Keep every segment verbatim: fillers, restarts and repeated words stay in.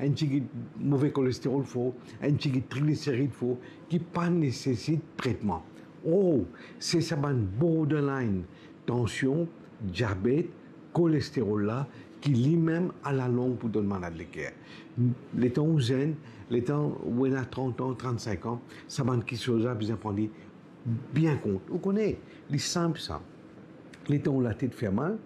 enn tigit move kolesterols for, enn tigit trigliserid for, ki pa nesesit tretman. Or, se sa bann borderline, tansion, diabet, kolesterol la, ki limem alalong pou donn malad leker. Letan ou zenn, letan ou ena trant an, trant-sink an, sa bann kiksoz la bizin pran li bien kont. Ou kone, li sinp sa. Letan ou latet fer mal,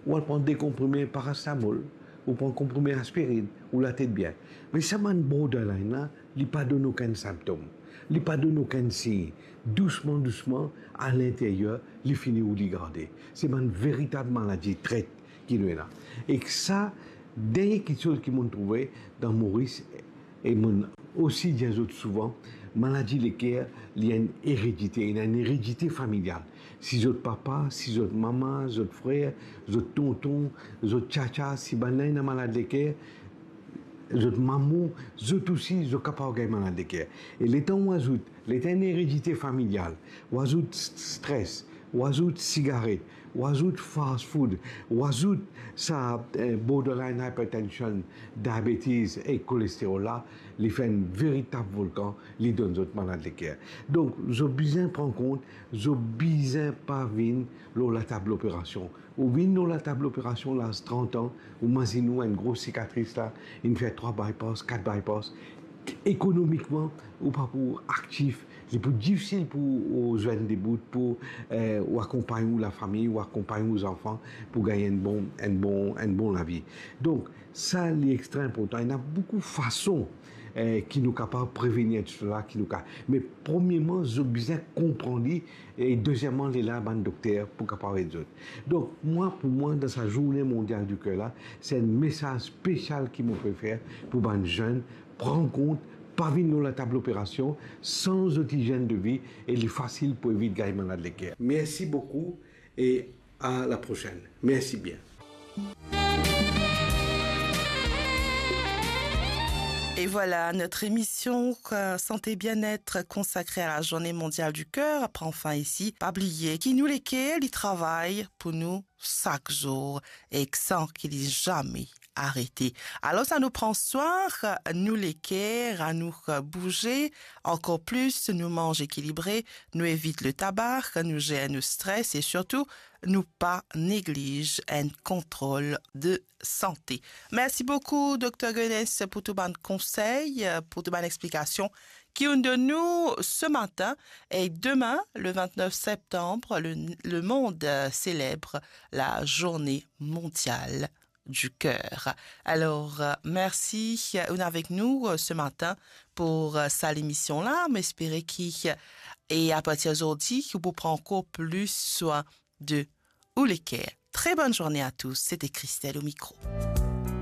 ou al pran de konprime parasetamol, ou pran konprime aspirin, ou latet bien. Me sa bann borderline la, li pa donn okenn sinptom, li pa donn okenn sign. Dousman, dousman, a linteryer, li fini ou li garde. Se bann veritab maladi tret ki nou ena. Ek sa, dernie kiksoz ki mo'nn trouve dan Moris, e mo'nn osi dir zot souvan, maladi leker, li enn eredite, li ena enn eredite familial. Si zot papa, si zot mama, zot frer, zot tonton, zot tiatia, si bannla ena malad leker, zot mama, zot osi, zot kapav gagn malad leker. E letan ou azout, letan enn eredite familial, ou azout s-, stres, ou azout sigaret, ou azout fast food, ou azout sa, eh, borderline hypertension, diabetes e kolesterol la, li fer enn veritab volkan, li donn zot malad leker. Donk, zot bizin pran kont, zot bizin pa vinn lor latab loperasion. Ou vinn lor latab loperasion laz trant an, ou mazinn ou enn gro sikatris la, inn fer trwa bypass, kat bypass. Ekonomikman, ou pa pou aktif, li pou difisil pou ou zwenn debout, pou, eh, ou akonpagn ou lafami, ou akonpagn ou zanfan, pou gagn enn bon, enn bon, enn bon lavi. Donk, sa, li extra inportan. Ena boukou fason, eh, ki nou kapav prevenir tou sa la, ki nou ka. Me premierman, zot bizin konpran li, e dezieman, li la bann dokter pou kapav ed zot. Donk, mwa, pou mwa, dan sa Zourne Mondyal di Ker la, se enn mesaz spesial ki mo pe fer pou bann zenn, pran kont, pa vinn lor latab loperasion, sanz zot izienn de vi, e li fasil pou evit gagn malad leker. Mersi boukou e a la prosenn. Mersi bien. Et voilà, notre émission, euh, Santé Bien-être consacrée à la Journée Mondiale du Cœur prend fin ici. Pa bliye ki nou leker li travay pou nou sak zour ek san ki li zame arete. Alor, sa nou pran swin nou leker, anou bouze ankor plis, nou manz ekilibre, nou evit le tabak, nou zer nou stres e sirtou, nou pa negliz enn kontrol de sante. Mersi boukou, Dokter Gones, pou tou bann konsey, pou tou bann explikasion ki ou'nn donn nou se matin. E demin, le vingt-neuf septembre, le, le monde, euh, célèbre la Journée Mondiale du Cœur. Alors, euh, merci, euh, ou'nn avek nou, euh, se matin pou, euh, sa lemision la. Mo espere ki, euh, e a partir zordi, ki ou pou pran ankor plis swin de ou leker. Très bonne journée à tous, c'était Christelle au micro.